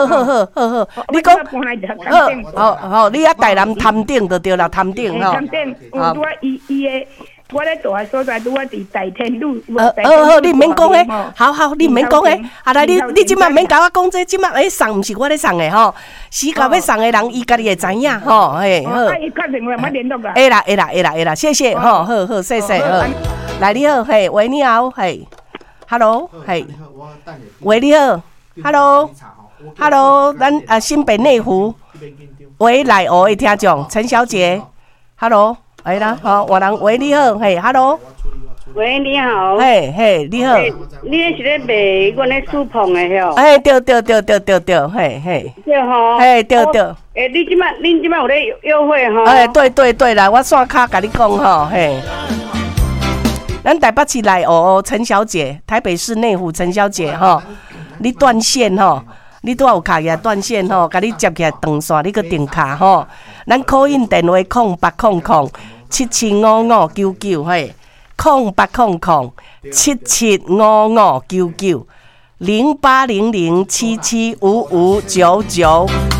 好好好好好，你講好，好好，你啊台南潭頂就對啦，潭頂吼。潭頂有拄仔伊伊的，我咧住的所在拄仔佇大天路。好好，你毋免講彼，好好，你毋免講彼。啊來，你你這擺毋免共我講這，這擺欸送毋是我咧送的吼，是到欲送的人伊家己會知影吼，嘿好。啊，伊確定話我聯絡啦。會啦會啦會啦會啦，謝謝吼，好好謝謝好。來你好，嘿，喂你好，嘿，Hello，嘿，喂你好，Hello，Hello，咱啊新北內湖，喂內湖的聽眾陳小姐，Hello，來啦，好，換人，喂你好，嘿，Hello，喂你好，嘿嘿你好，你是咧賣阮咧書棚的吼？哎對對對對對對，嘿嘿，對吼，嘿對對，欸你這擺恁這擺有咧約會吼？哎對對對啦，我線跤共你講吼，嘿。咱台北市內湖陳小姐，台北市內湖陳小姐吼，你斷線吼，你拄仔有敲起來斷線吼，共你接起來斷線，你閣重敲吼。咱 call in 電話0800775599嘿，0800775599，0800775599。